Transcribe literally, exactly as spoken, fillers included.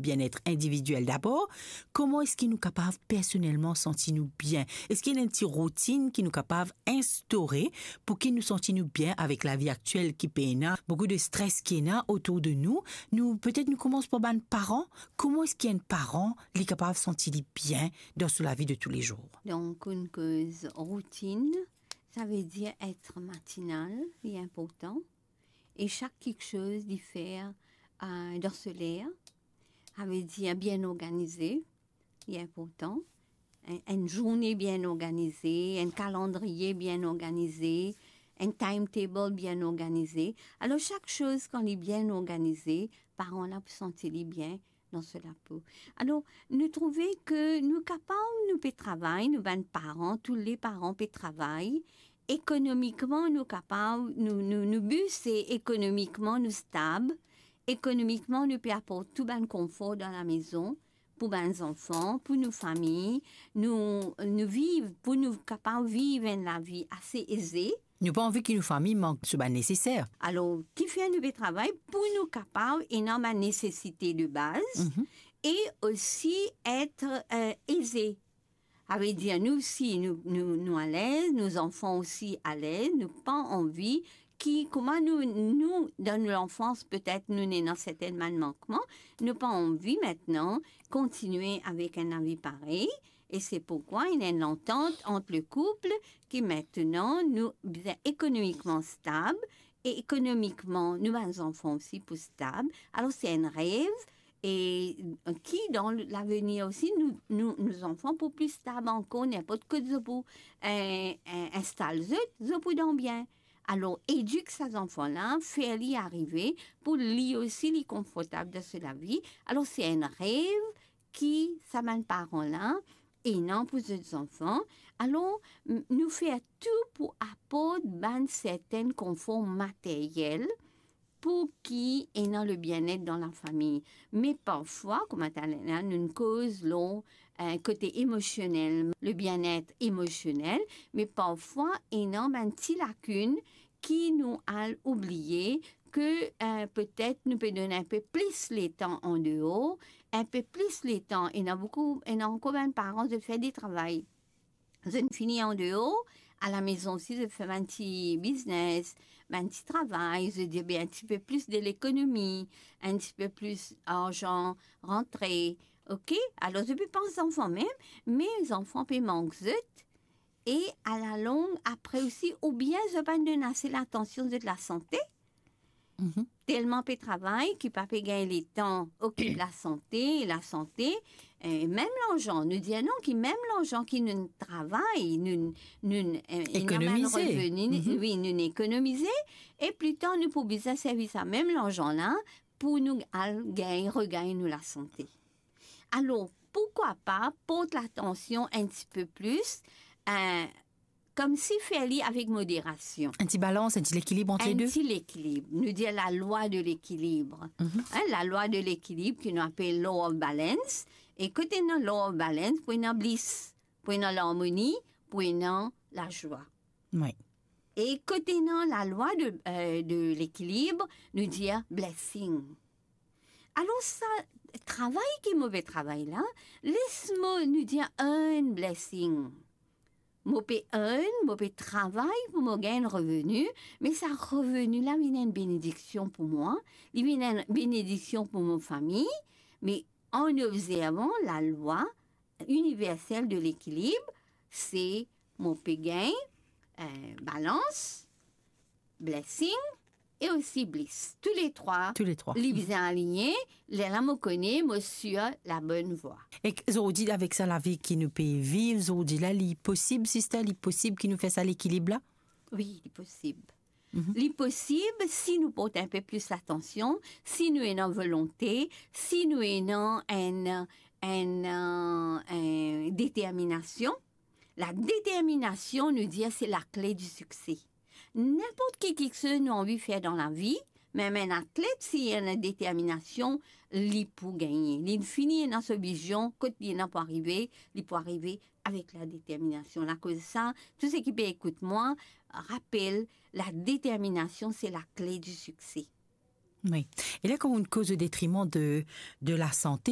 bienet individiel dabor, kouma eski nou kapav personelman santi nou bien? Eski ena enn ti routinn ki nou kapav instaure pou ki nou santi nou bien avek lavi aktiel ki pena, boukou de stres ki ena otour de nou? Nou, petet nou koumans par bann paran. Kouma eski enn paran li kapav santi li bien dan so lavi de toulezour? Donk, enn koz routinn, savedir et matinal, li inportan. E sak kiksoz li fer, euh, dan so ler, savedir bien organize, li inportan. Enn, enn zourne bien organize, enn kalandriye bien organize, enn timetable bien organize. Alor, sak soz, kan li bien organize, paran la pou santi li bien dan so lapo. Alor, nou trouve ke nou kapav, nou pe travay, nou bann paran, tou le paran pe travay, ekonomikman, nou kapav, nou, nou, nou bi se ekonomikman, nou stab, ekonomikman, nou pe aport tou bann konfor dan lamezon, pou bann zanfan, pou nou fami, nou, nou viv, pou nou kapav viv enn lavi ase eze. Nou pa anvi ki nou fami mank so bann neseser. Alor, kifer nou pe travay? Pou nou kapav ena bann nesesite de baz, mhm, e osi et, euh, eze. Savedir, nou osi, nou, nou, nou alez, nou zanfan osi alez, nou pa anvi ki, kouma nou, nou, dan nou lanfans, petet nou ena sertin bann mankman, nou pa anvi aster kontinie avek enn lavi parey, e se poukwa ena enn lantant ant le koup ki aster nou bizin ekonomikman stab, e ekonomikman, nou bann zanfan osi pou stab. Alor, se enn rev, e ki dan lavenir osi, nou, nou, nou zanfan pou pli stab ankor, ninport kot zot pou, eh, eh, instal zot, zot pou dan bien. Alor, edik sa zanfan la, fer li arive pou li osi li konfortab dan so lavi. Alor, se enn rev ki sa bann paran la ena pou zot zanfan. Alor, m-, nou fer tou pou aport bann sertin konfor materyel pou ki ena le bienet dan lafami. Me parfwa, kouma taler la, nou koz lor, eh, kote emosionel, le bienet emosionel, me parfwa ena bann ti lakinn ki nou al oubliye, ke, eh, petet nou pe donn inpe plis letan andeor, inpe plis letan, ena boukou, ena ankor bann paran, zot fer de travay. Zot fini andeor, alamezon osi, zot fer bann ti biznes, bann ti travay, zot dir, be, enn tipe plis de lekonomi, enn tipe plis larzan rantre, ok? Alor, zot pe pans zanfan mem, me zanfan pe mank zot, e alalong, apre osi, oubien zot pa donn ase latansion zot lasante, mhm, telman pe travay ki pa pe gagn letan okip lasante, lasante, eh, mem larzan, nou dir non ki mem larzan ki nou travay, nou, nou, eh, ena bann ekonomize, reveni, mhm, wi, nou ekonomize, e pli tar nou pou bizin servi sa mem larzan la pou nou al gagn, regagn nou lasante. Alor, poukwa pa port latansion enn tipe plis, eh, koumsi fer li avek moderasion. Enn ti balans, enn ti lekilib ant le de. Enn ti lekilib. Nou dir lalwa de lekilib. Mhm. Hein, lalwa de lekilib ki nou apel law of balance. E kot ena law of balance, pou ena bliss, pou ena larmoni, pou ena lazwa. Wi. E kot ena lalwa de, eh, de lekilib, nou dir blessing. Alor sa travay ki mo pe travay la, les mo, nou dir, earn blessing. Mo pe earn, mo pe travay pou mo gagn reveni, me sa reveni la vinn enn benediksion pou mwa, li vinn enn benediksion pou mo fami, me an obzervan lalwa iniversel de lekilib, se mo pe gagn, eh, balans, blessing e osi bliss. Tou le trwa, tou le trwa, li bizin aligne, lerla mo kone mo sir labonn vwa. Ek zordi, avek sa lavi ki nou pe viv zordi la, li posib, sister, li posib ki nou fer sa lekilib la? Wi, li posib. Mhm. Li posib si nou port inpe plis latansion, si nou ena volonte, si nou ena enn, enn, eh, enn determinasion. La determinasion, nou dir, se lakle di sikse. Ninport ki kiksoz nou anvi fer dan lavi, mem enn atlet, si li ena determinasion, li pou gagne. Li fini ena so vizion, kot li ena pou arive, li pou arive avek la determinasion. Lakoz sa, tou seki pe ekout mwa, rapel, la determinasion, se lakle di sikse. Wi. E la, kan nou koz o detriman de, de lasante,